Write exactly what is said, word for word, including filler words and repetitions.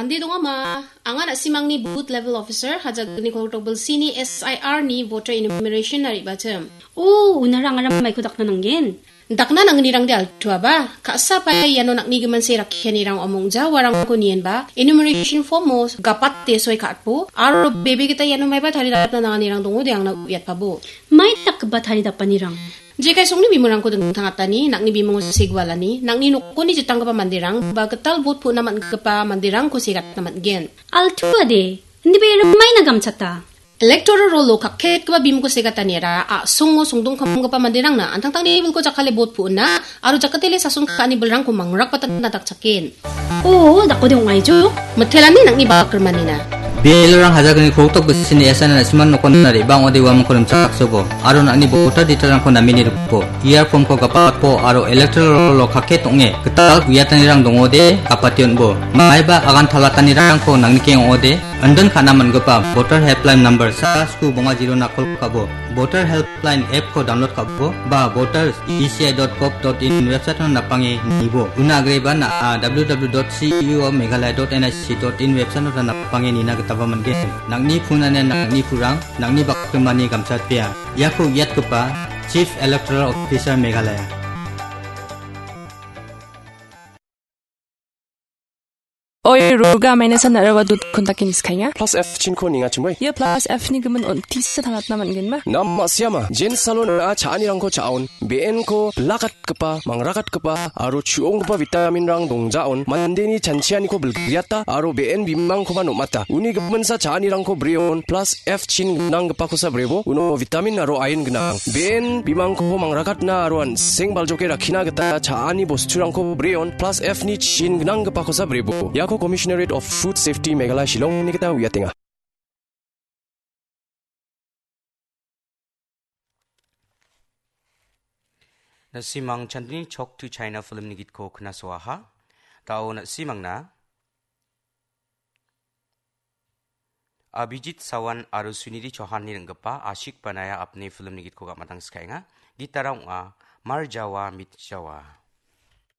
Ande dongama, anga na·simangni booth level officer, Hajagni kolgrikdok bilsini S I R ni voter enumeration na re·bachim. O, unara angara maiko dakna nanggen? Dakna nangnirangde altuaba, ka·sa paia iano nang·ni gimin se rakkianirang omongja uarangko nienba, enumeration form-o gapate soi ka·atbo, aro bebe gita iano maiba taridapna nanganirang dongo de angna uiatpabo. Mai dakgipa taridapanirang? Jekai songni bimungko dingtangatani, nang·ni bimungo segualani, nang·ni nokoni jitanggipa manderang, ba gital bot pu·na man·gipa manderangko segatna man·gen. Altuade, indibe rimaina gamchata. Electoral roll-o kakketgipa bimungko segataniara, a·songo songdongkamgipa manderangna, an·tangtangni bilko jakkale bot pu·na, aro jakatele sason ka·ani bilrangko mangrakbatna dakchaken. O, dakode ong·aijo? Mitelani nang·ni bakrimanina. Bialrang Hajagni kolgrikdok bisini S I R ni na·simang nokon na re·bang ode uamangko rimchaksobo. Aro nang·ni voter detail-rangko namini rikbo. Ia form-ko gapatbo aro electoral roll-o kakket ong·e gital uiatanirang dongode gapate on·bo. Maiba agan talatanirangko nangnikeng ong·ode, indin ka·na man·gipa voter helpline number sa sku bonga zero-na kol ka·bo. Voter helpline app-ko download ka·bo, ba voters E C I dot gov dot in website-o napange nibo. Una agreba na·a W W W dot C E O Meghalaya dot N I C dot in website-o napange nina gitaba man·gen. Nang·ni phone ane nang·ni purang, nang·ni bakrimani gamchatpea. Iako uiatgipa Chief Electoral Officer Meghalaya. Oi, Ruga maina san narawa dut kontakin skainga. Plus F chinko ninga chumai. Ia plus F ni gimin on tisa tangatna man·genma? Nam ma·siama, jen salon a cha·anirangko cha·on, B N ko bilakatgipa, mangrakatgipa, aro chu·onggipa vitamin-rang dongjaon, mandeni chanchianiko bilgriata, aro B N bimangkoba nom·ata. Uni giminsa cha·anirangko breon, plus F chin gnanggipakosa brebo, uno vitamin aro iron gnang. B N bimangko mangrakatna aro an·seng baljoke rakkina gita cha·ani bosturangko breon, plus F ni chin gnanggipakosa brebo. Iako Commissionerate of Food Safety Meghalaya Shillongni gita uiatenga. Na·simang Chandni Chok to China film-ni gitko knasoaha. Da·o na·simangna Abhijit Sawan aro Sunidhi Chauhan-ni ring·gipa Ashik Banaya Apne film-ni gitko ga·matang skaenga. Gitara ong·a Mar Jawa Mit Jawa.